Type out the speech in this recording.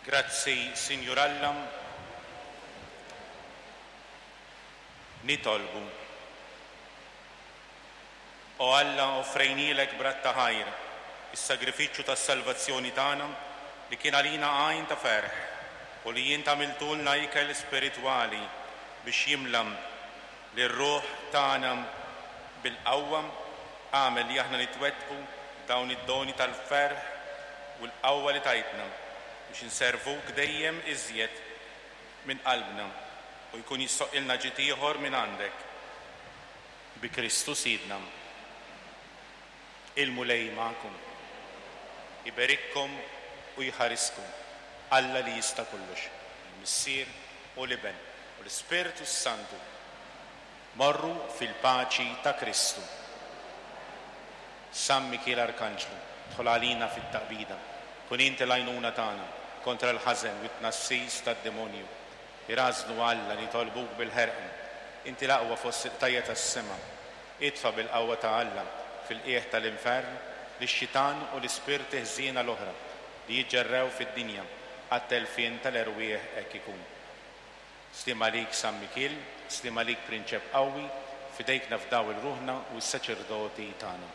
Grazzi, Sinjur Alla. Nitolbu. O Alla, offrejnielek b'radd ta' ħajr is-sagrifiċċju tas-salvazzjoni tagħna li kien għalina għajn ta' ferħ u li int għamiltulna ikel spiritwali biex jimla lir-ruħ tagħna bil-qawwa, agħmel li aħna nitwettqu dawn id-doni tal-ferħ u l-qawwa li tajtna biex inservuk dejjem iżjed minn qalbna u jkun jistħoqqilna ġid ieħor minn għandek. Bi Kristu Sidna. Il-Mulej magħkom. Iberikkom u jħariskom Alla li jista' kollox, il-Missier u l-Iben u l-Ispirtu s-Santu. Morru fil-paċi ta' Kristu. San Mikiel Arkanġlu, dħol għalina fit-taqbida. Kun inti l-għajnuna tagħna kontra l-ħażen u t-tnassis tad-demonju. Irażżnu Alla nitolbuk bil-ħerqa. Inti l-aqwa fost il-qtajja' tas-sema. Itfa' bil-qawwa ta' Alla fil-qiegħ tal-infern lix-xitan u l-ispirti ħżiena l-oħra li jiġġerrew fid-dinja għat-telfien tal-erwieħ hekk ikun. Sliem għalik San Mikiel, sliem għalik Prinċep qawwi, f'idejk nafdaw il-ruħna u s-saċerdoti tagħna.